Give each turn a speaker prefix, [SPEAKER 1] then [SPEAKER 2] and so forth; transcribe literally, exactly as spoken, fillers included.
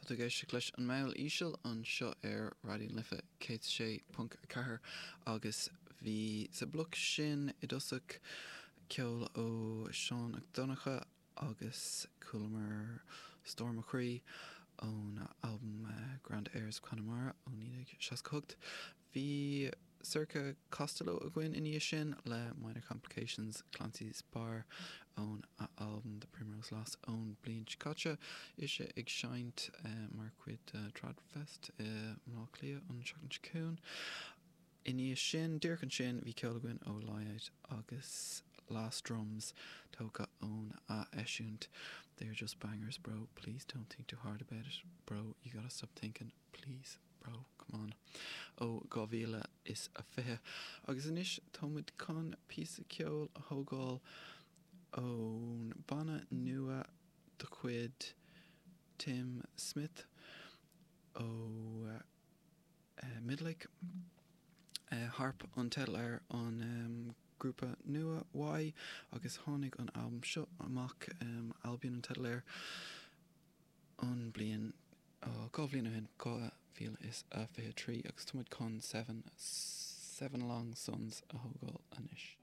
[SPEAKER 1] Tá tú ag éisteacht leis an Meall Íseal anseo ar Raidió na Life céad sé ponc a ceathair agus bhí sa bloc sin i dtosach ceol ó Seán Mac Donncha agus chualamar Stór Mo Chroí ón albam Grand Airs Connemara ó naoi déag seasca hocht. Bhí Sorcha Costello againn i ndiaidh sin le Minor Complications Clancy's Bar ón albam The Primrose Loss ón bliain seo caite ise ag seinnt mar chuid de Tradfest i mBleá Cliath an seachtain seo chugainn. I ndiaidh sin díreach ansin bhí ceol againn ó Lie agus Last Drums tógtha ón a eisiúint. They're just bangers bro, please don't think too hard about it. Bro, you gotta stop thinking, please. Bro, come on. Ó dhá mhíle is a fiche. Agus anois táimid chun píosa ceoil a thógáil ón banna nua de chuid Tim Smith ó uh, Midlake. Uh, Harp an teideal ar an um, grúpa nua uaidh agus tháinig an albam seo amach um, Albion an teideal air an bliain dhá bhliain ó shin dhá mhíle is a fiche trí agus táimid chun seven seven long suns a thógáil anois.